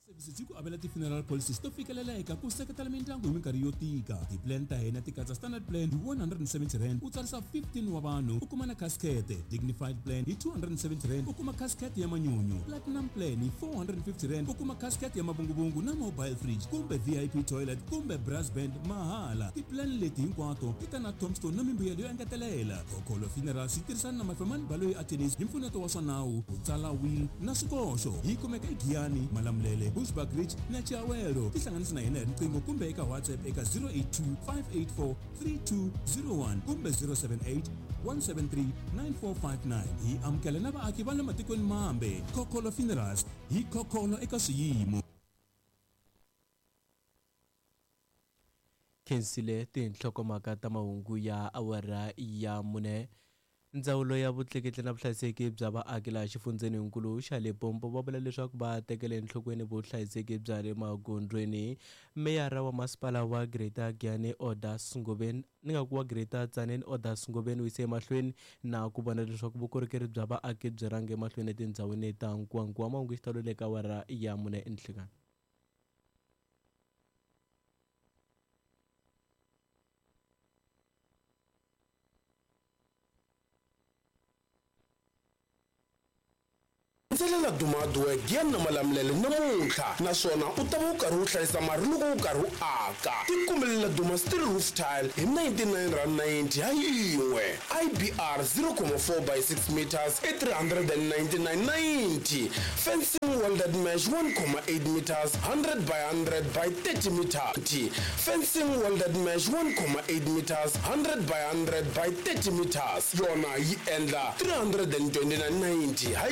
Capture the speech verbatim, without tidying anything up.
Services yi ku avela ti-funeral policies to fikeleleka ku seketela mindyangu hi minkarhi yo tika. Ti-plan ta hina ti katsa standard plan hi one hundred and seventy rand, u tsarisa fifteen wa vanhu, u kuma na casket; dignified plan hi two hundred and seventy rand, u kuma casket ya manyunyu; platinum plan hi four hundred and fifty rand, u kuma casket ya mavunguvungu na mobile fridge kumbe V I P toilet kumbe brass band mahala. Ti-plan leti hinkwato ti ta na tombstone na mimbuyelo yo engetelela. Khokholo Funerals yi tirhisana na Mafemani Baloyi Attorneys hi mpfuneto wa swa nawu, ku tsala will na swikoxo. Yi kumeka eGiyani, Malamulele, Bushbuckridge na Chiawelo. Tihlanganisi na hina hi riqingho kumbe eka WhatsApp eka zero eight two, five eight four, three two zero one kumbe zero seven eight, one seven three, nine four five nine. Hi amukela na vaaki va le matikweni mambe. Khokholo Funerals, hi khokholo eka swiyimo. Khensile tinhlokomhaka ta mahungu ya awara ya mune. Ndzawulo ya vutleketli na vuhlayiseki bya vaaki laha xifundzeninkulu xa Limpopo va vula leswaku va tekele enhlokweni vuhlayiseki bya le magondzweni. Meyara wa masipala wa Greater Giyani Odas Ngoveni, ni nga ku wa Greater Tzaneen Odas Ngoveni, u yise emahlweni na ku vona leswaku vukorhokeri bya vaaki byi rhanga emahlweni etindhawini ta nkuwankuwa. Mahungu xitalo le ka awara ya mune enhlikani. Ndzelela Dumadwe Giyani na Malamulele namuntlha, naswona u ta va u karhi u hlayisa mali loko u karhi u aka. Tikumelela Duma Steel Roof Tile hi ninety-nine rand ninety ha yin'we, I B R zero point four by six meters i three hundred ninety-nine ninety, fencing welded mesh one point eight meters, one hundred by one hundred by thirty meters, fencing welded mesh one point eight meters, one hundred by one hundred by thirty meters, yona yi endla three hundred twenty-nine ninety ha.